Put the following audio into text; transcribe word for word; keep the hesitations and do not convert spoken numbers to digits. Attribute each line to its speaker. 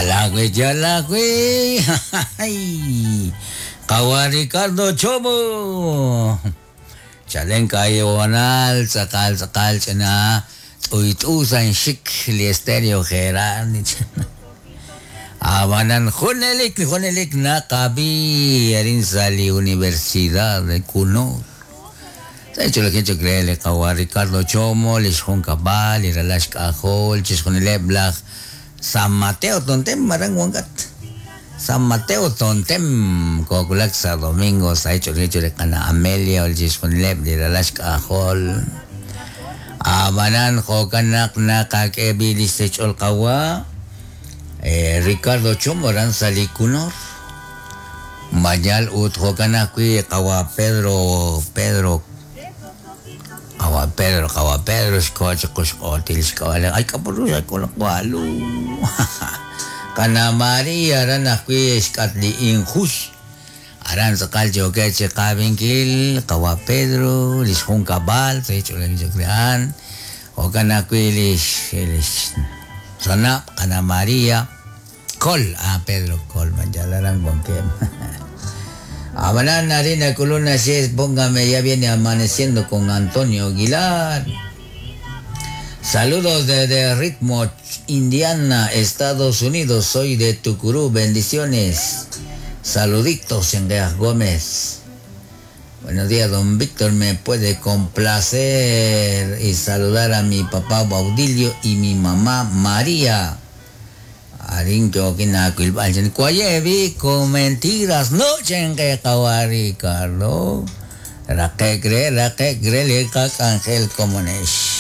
Speaker 1: Yalagüe, yalagüe. Kawa Ricardo Chomo. Chalen kayo anal, tzakal, tzakal, chana. T'uyt'usan xik li estéreo Gerard. Abanan junelik, junelik naqabi arin sa li Universidad de Kuno. Sa hecho lo que hecho creele kawa Ricardo Chomo, lix Junkabal, li ralax k'ajol, chixjunileb laj San Mateo Tontem, marang wangat. San Mateo Tontem, kokulak sa domingo, sa hecho lo que hecho kana Amelia, chixjunileb li ralax k'ajol. Abanan jokanak nakak'ebi lix kawa. Eh, Ricardo Chomo ran sa Likunor. Mayal ut jokanak wi kawa Pedro, Pedro Kawa Pedro, kawa Pedro, xkoch kuxkotil xkawala. Ay kapuro ay kulakwalo. Kana María ran ajwi xkatli injus. Aran sakal choque kabinkil, kawa Pedro, lix junkabal, se hecho le crean. O kana kwi lix lix sana kana María Col, ah Pedro Col, manjalaran con que. Abanana Arena Coluna seis, póngame, ya viene amaneciendo con Antonio Aguilar. Saludos desde Ritmo, Indiana, Estados Unidos. Soy de Tucurú, bendiciones. Saluditos, Engueas Gómez. Buenos días, don Víctor. Me puede complacer y saludar a mi papá Baudilio y mi mamá María. Arin kina Cuayevi con mentiras no chengue Ricardo. Raque cre, raque cre, le Ángel Comunesh.